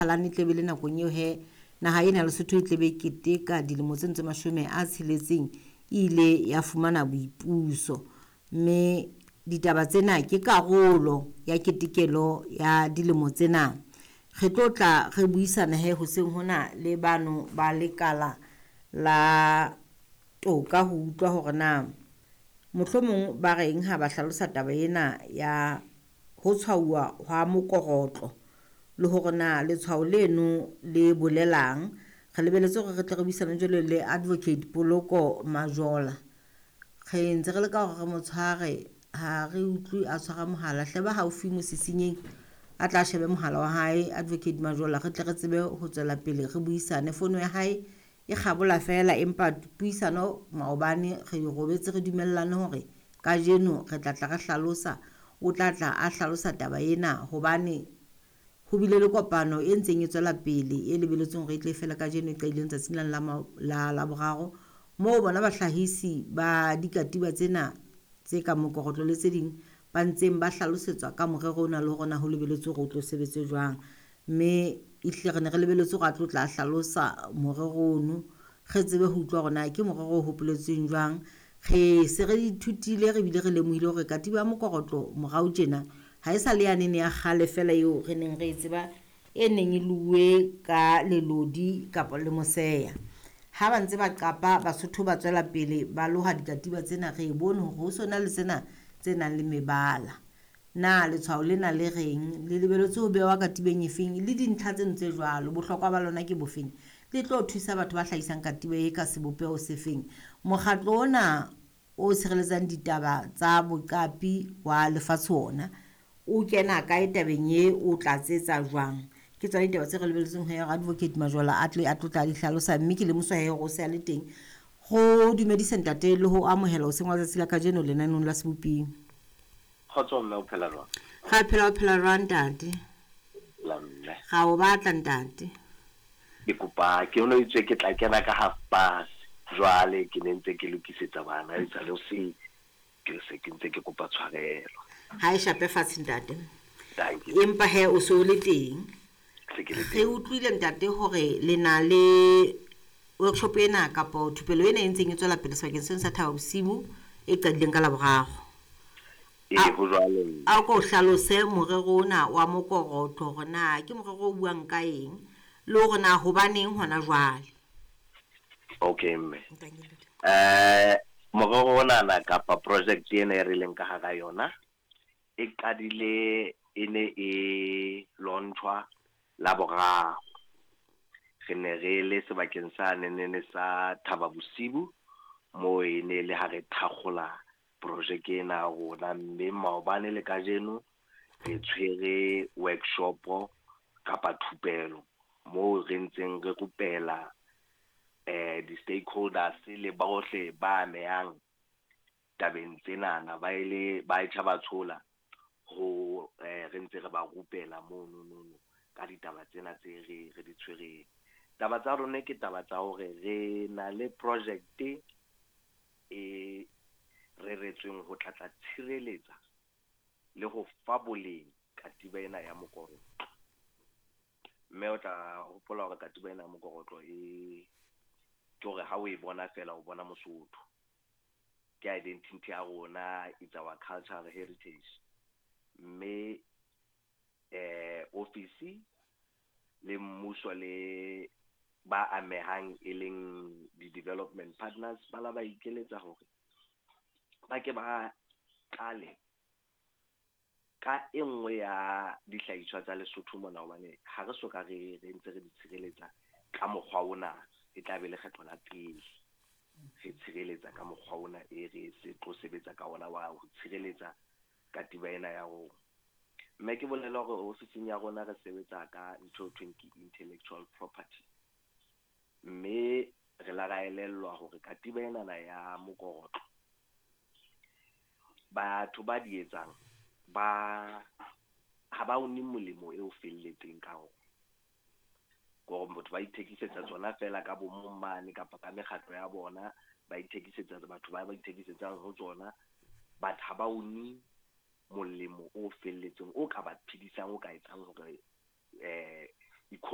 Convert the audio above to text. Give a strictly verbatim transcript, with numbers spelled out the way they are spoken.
Mphalane e tlebe le nakong eo he naha ena ya Lesotho e tlebe e keteka dilemo tse ntse mashome a tsheletseng e ile ya fumana boipuso, mme ditaba tsena ke karolo ya ketekelo ya dilemo tsena. Re tlo tla re buisana he hoseng hona le bano ba lekala la toka ho utlwa hore na mohlomong ba reng ha ba hlalosa taba ena ya ho tshwauwa hwa mokorotlo le hore na letshwao leno le bolelang. Re lebeletse hore re tle re buisane jwalo le Advocate Poloko Majola. Re ntse re leka hore re mo tshware, ha re utlwe a tshwara mohala. Hle ba haufi mosisinyeng a tla shebe mohala wa hae Advocate Majola, re tle re tsebe ho tswela pele re buisane. Fono ya hae e kgabola feela, empa puisano maobane re robetse re dumellane hore kajeno re tla tla re hlalosa, o tla tla a hlalosa taba ena hobane ho bile le kopano e ntseng e tswela pele e lebeletsweng hore e tle fela kajeno e qadileng tsatsing la la Laboraro, moo bona bahlahisi ba dikatiba tsena tse ka mokorotlo le tse ding ba ntseng ba hlalosetswa ka morero ona le hore na ho lebeletswe hore o tlo sebetse jwang. Mme ehlile re ne re lebeletse hore a tlo tla hlalosa morero ono, re tsebe ho utlwa hore na ke morero o hopoletsweng jwang. Re se re ithutile re bile re lemohile hore katiba ya mokorotlo morao tjena ha e sa le yanene ya kgale fela eo re neng re e tseba e neng e luwe ka lelodi kapa le moseya. Ha ba ntse ba qapa Basotho ba tswela pele ba loha dikatiba tsena, re bone hore ho sona le tsena tse nang le mebala. Na letshwao lena le reng, le lebeletse ho bewa katibeng efeng, le dintlha tseno tse jwalo, bohlokwa ba lona ke bofeng, le tlo thusa batho ba hlahisang katiba e ka sebopeho sefeng. Mokgatlo ona o tshireletsang ditaba tsa boqapi wa lefatshe ona o kena kae tabeng e, o tlatsetsa jwang? Ke tsona ditaba tse re lebeletseng ho ya Advocate Majola a tle a tlo tla di hlalosa, mme ke lemoswa he hore o se a le teng. Ho dumedisa ntate le ho amohela hoseng wa tsatsi la kajeno lenaneong la Seboping. Kgotso mme, o phela jwang? Ra phela, o phela jwang ntate? La mme. Ra o batla ntate. Ke kopa ke ono itswe ke tla kena ka half past. Jwale ke ne ntse ke lokisetsa bana e sale hoseng. Ke se ke ntse ke kopa tshwarelo. Ha e shape fatshe ntate. Thank you. Empa he o so le teng. Se ke le Re teng. utlwile ntate hore le na le workshop ena kapa thupelo ena e ntseng e tswela pele sebakeng sena sa Thaba Bosiu e qadileng ka Laboraro. Ee, ho jwalo. A ko hlalose morero ona wa mokorotlo hore na ke morero o buang ka eng le hore na hobaneng hona jwale. Okay mme. Eh morero ona na kapa project ena e re leng ka hara yona e qadile e ne e launchwa Laboraro. Re ne re le sebakeng sa nenene sa Thaba Bosiu moo e ne le ha re thakgola project ena ya rona, mme maobane le kajeno re tshwere workshop kapa thupelo moo re ntseng re rupela eh di-stakeholders le bohle ba amehang tabeng tsenana ba ile ba etjha ba tshola ho eh re ntse re ba rupela mono nono ka ditaba tsena tse re re di tshwereng. Taba tsa rona ke taba tsa hore re na le project e reretsweng ho tla tla tshireletsa le ho fa boleng katiba ena ya mokorotlo. Mme o tla hopola hore katiba ena ya mokorotlo e ke hore ha o e bona fela o bona Mosotho. Ke identity ya rona, it's our cultural heritage. Mme eh office le mmuso le ba amehang e leng di-development partners ba la ba ikeletsa hore ba ke ba qale ka e nngwe ya dihlahiswa tsa Lesotho mona, hobane ha re soka re re ntse re di tshireletsa ka mokgwa ona, e tla be lekgetho la pele re tshireletsa ka mokgwa ona e re se tlo sebetsa ka ona wa ho tshireletsa katiba ena ya rona. Mme ke bolela hore ofising ya rona re sebetsa ka ntho e thweng ke intellectual property, mme re la ra elellwa hore katiba enana ya mokorotlo batho ba di etsang ba ha ba une molemo e o felletseng ka ona. Hore motho ba ithekisetsa tsona fela ka bo mong mane kapa ka mekgatlo ya bona, ba ithekisetsa batho ba ba ithekisetsang ho tsona, but ha ba une molemo o felletseng o ka ba phedisang, o ka etsang hore eh economy